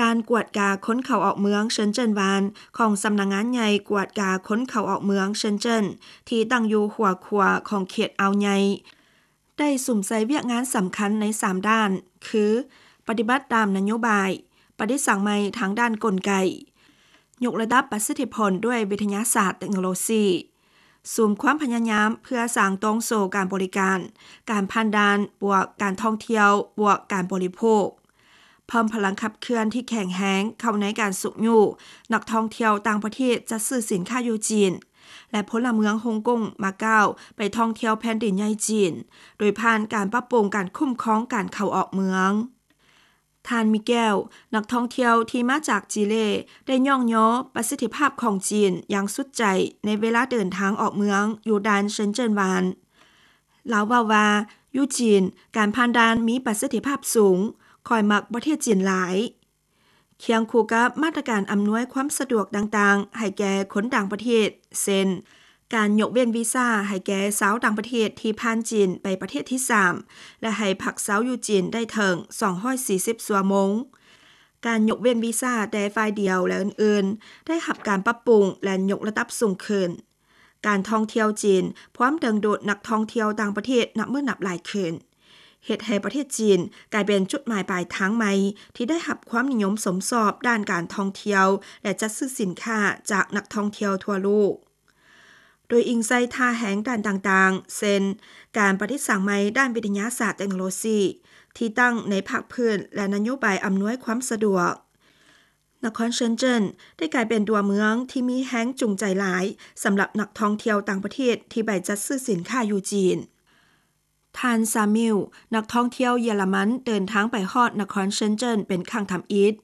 ການກວດກາຄົນເຂົ້າອອກເມືອງເຊິນເຈິນວານ ຂອງສຳນັກງານໃຫຍ່ກວດກາຄົນເຂົ້າອອກເມືອງເຊິນເຈິນ ທີ່ຕັ້ງຢູ່ຫົວຂົວຂອງເຂດອ່າວໃຫຍ່ ໄດ້ສຸມໃສ່ວຽກງານສຳຄັນໃນສາມດ້ານ ຄື ປະຕິບັດຕາມນະໂຍບາຍ, ປະດິດສັງໃໝ່ທາງດ້ານກົນໄກ, ຍົກລະດັບປະສິດທິຜົນດ້ວຍວິທະຍາສາດເຕັກໂນໂລຊີ, ສຸມຄວາມພະຍາຍາມເພື່ອສ້າງໂຕງໂສ້ການບໍລິການ, ການຜ່ານດ່ານ ບວກການທ່ອງທ່ຽວ ບວກການບໍລິໂພກ, ເພີ່ມພະລັງຂັບເຄື່ອນທີ່ແຂງແຮງເຂົ້າໃນການຊຸກຍູ້ນັກທ່ອງທ່ຽວຕ່າງປະເທດຈັດຊື້ສິນຄ້າຢູ່ຈີນ ແລະ ພົນລະເມືອງຮົງກົງ ມາເກົ້າ ໄປທ່ອງທ່ຽວແຜ່ນດິນໃຫຍ່ຈີນ ໂດຍຜ່ານການປັບປຸງການຄຸ້ມຄອງການເຂົ້າອອກເມືອງ. ທ່ານ ມີແກວ ນັກທ່ອງທ່ຽວທີ່ມາຈາກຈີເລ ໄດ້ຍ້ອງຍໍປະສິດທິພາບຂອງຈີນຢ່າງສຸດໃຈໃນເວລາເດີນທາງອອກເມືອງຢູ່ດ່ານເຊິນເຈິນວານ. ລາວເວົ້າວ່າ ຢູ່ຈີນ ການຜ່ານດ່ານມີປະສິດທິພາບສູງ, ຂ້ອຍມັກປະເທດຈີນຫຼາຍ. ຄຽງຄູ່ກັບມາດຕະການອຳນວຍຄວາມສະດວກຕ່າງໆໃຫ້ແກ່ຄົນຕ່າງປະເທດ ເຊັ່ນ ການຍົກເວັ້ນວີຊາໃຫ້ແກ່ຊາວຕ່າງປະເທດທີ່ຜ່ານຈີນໄປປະເທດທີສາມ ແລະ ໃຫ້ພັກເຊົາຢູ່ຈີນໄດ້ເຖິງສອງຮ້ອຍສີ່ສິບຊົ່ວໂມງ, ການຍົກເວັ້ນວີຊາແຕ່ຝ່າຍດຽວ ແລະ ອື່ນໆ ໄດ້ຮັບການປັບປຸງ ແລະ ຍົກລະດັບສູງຂຶ້ນ. ການທ່ອງທ່ຽວຈີນພວມດຶງດູດນັກທ່ອງທ່ຽວຕ່າງປະເທດນັບມື້ນັບຫຼາຍຂຶ້ນ, ເຮັດໃຫ້ປະເທດຈີນກາຍເປັນຈຸດໝາຍປາຍທາງໃໝ່ທີ່ໄດ້ຮັບຄວາມນິຍົມຊົມຊອບດ້ານການທ່ອງທ່ຽວ ແລະ ຈັດຊື້ສິນຄ້າຈາກນັກທ່ອງທ່ຽວທົ່ວໂລກ. ໂດຍອີງໃສ່ທ່າແຮງດ້ານຕ່າງໆ ເຊັ່ນ ການປະດິດສ້າງໃໝ່ດ້ານວິທະຍາສາດເຕັກໂນໂລຊີ ທີ່ຕັ້ງໃນພາກພື້ນ ແລະ ນະໂຍບາຍອຳນວຍຄວາມສະດວກ, ນະຄອນເຊິນເຈິນໄດ້ກາຍເປັນຕົວເມືອງທີ່ມີແຮງຈູງໃຈຫຼາຍສຳລັບນັກທ່ອງທ່ຽວຕ່າງປະເທດທີ່ໄປຈັດຊື້ສິນຄ້າຢູ່ຈີນ. ທ່ານ ຊາມິວ ນັກທ່ອງທ່ຽວເຢຍລະມັນເດີນທາງໄປຮອດນະຄອນເຊິນເຈິນເປັນຄັ້ງທຳອິດ.